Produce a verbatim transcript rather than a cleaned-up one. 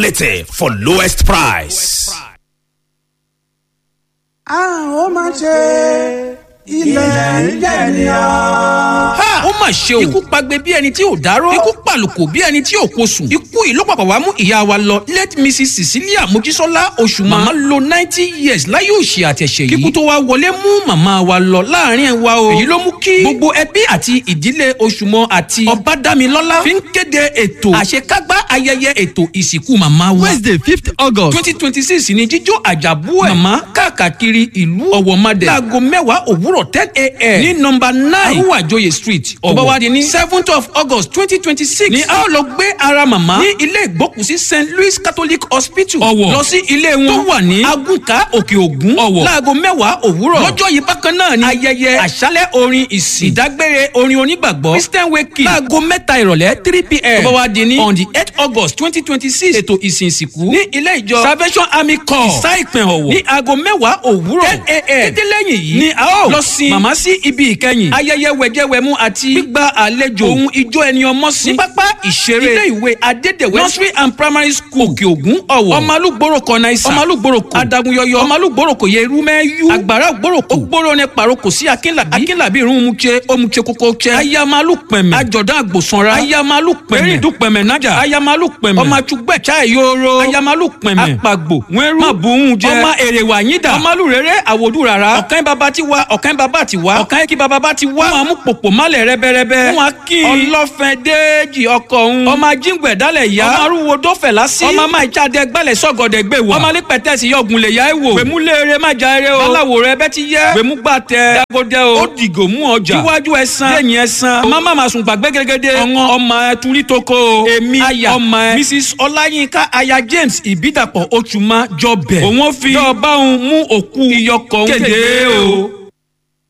Quality for lowest price. A ó máa ṣe ilẹ̀ ń jẹ̀ ní ọ́. Ha! Ó mà ṣe o. Ikú pagbe bí ẹni tí ò dárò. Ikú pàlùkò bí ẹni tí ò kosùn. Ikú yìí ló pàpà wá mú ìyá wa lọ. Late Missus Cecilia Mojísọ́lá Oṣùmá. Màmá lo ninety years láyé òṣì àtẹ̀ṣẹ̀ yìí. Kíkú tó wá wọlé mú màmá wa lọ láàrin wa o. Èyí ló mú kí gbogbo ẹbí àti ìdílé Oṣùmọ àti Ọbádámilọ́lá fi ń kéde ètò àṣekágbá ayẹyẹ ètò ìsìnkú màmá wa. Wednesday fifth August twenty twenty six ni jíjó àjàbú ẹ̀. Màmá káàkiri ìlú Ọ̀wọ̀madẹ̀. Láago mẹ́wàá òwúrọ̀ ten a m ní nọ́mbà nine Arúwàjòyè street Ọ̀wọ̀. Tó bá wá di ní seventh of August twenty twenty six ni a ó lọ gbé ara màmá ní ilé ìgbókùsí Saint Louis Catholic Hospital Ọ̀wọ̀ lọ sí ilé wọn tó wà ní Agùnkà Òkè Ògùn Ọ̀wọ̀ láago mẹ́wàá òwúrọ̀. Lọ́jọ́ yìí bákan náà ni ayẹyẹ àṣálẹ̀ orin ìsìn ìdágbére orin onígbàgbọ́ Christian wake láago mẹ́ta ìrọ̀lẹ́ three p m tó bá wá di ní on the eight August twenty twenty six ètò ìsìn ìsìnkú ní ilé ìjọ Salvation Army Corps Ìsá Ìpín Ọ̀wọ̀ ní aago mẹ́wàá òwúrọ̀ ten a m Kété lẹ́yìn yìí ni a ó lọ sin màmá sí ibi ìkẹyìn ayẹyẹ wẹ̀jẹwẹ̀mu àti gbígba àlejò ohun ijó ẹni ọmọ sí ní pápá ìṣeré ilé ìwé Adédèwé nursery and primary school Òkè Ògùn Ọ̀wọ̀. Ọmọlúgbòrò kọ̀nà ìsà ọmọlúgbòrò kò adagunyọyọ ọmọlúgbòrò kò yẹ irú mẹ́yú àgbàrá ògbòrò kò ògbòrò ní paroko sí Akínlàbí Akínlàbí irun mutse omutse koko tse ayamalu pẹ̀mẹ̀ àjọ̀dán àgbòsanra ayamalu pẹ̀mẹ̀ erindun pẹ̀mẹ̀ nájà ayamalu pẹ̀mẹ̀ ọmọ àtúgbẹ̀ chai yoro ayamalu pẹ̀mẹ̀ apagbo wẹ́rú má buhun jẹ ọmọ èrè wà yín dà ọmọlúrere àwòdù rárá ọ̀kan bàbá ti wá ọ̀kan bàbá ti wá ọ̀kan kí bàbá ti wá wọn mú pòpò málẹ̀ rẹ́bẹ́rẹ́bẹ́ wọn kí ọlọ́fẹ́ déèjì ọkọ̀ òun ọmọ ajíǹgbẹ̀ dálẹ̀ yá ọmọ arúgbó dọ́fẹ̀ lásì ọmọ máa jáde gbálẹ̀ sọ́gọ̀dẹ̀ gbé wà ọmọ alẹ́ pẹ̀tẹ́sì yọ̀gùn lè yá ẹ̀ wò gbèmúlére má já eré o báláwo rẹ bẹ́ ti yẹ gbèmúgbà tẹ dágódé o ó dìgò mú ọjà iwájú ẹsan lẹ́yìn ẹsan ọmọ má má sùn gbàgbé gẹ́gẹ́dẹ́ ọ̀ngàn ọmọ ẹ turí toko o èmi aya ọmọ ẹ Missus Ọláyínká aya James Ìbídàpọ̀ Oṣùmá jọbẹ̀ òun ó fi dọ́ọ̀bá òun mú òkú iyọkọ̀ òun kéde o.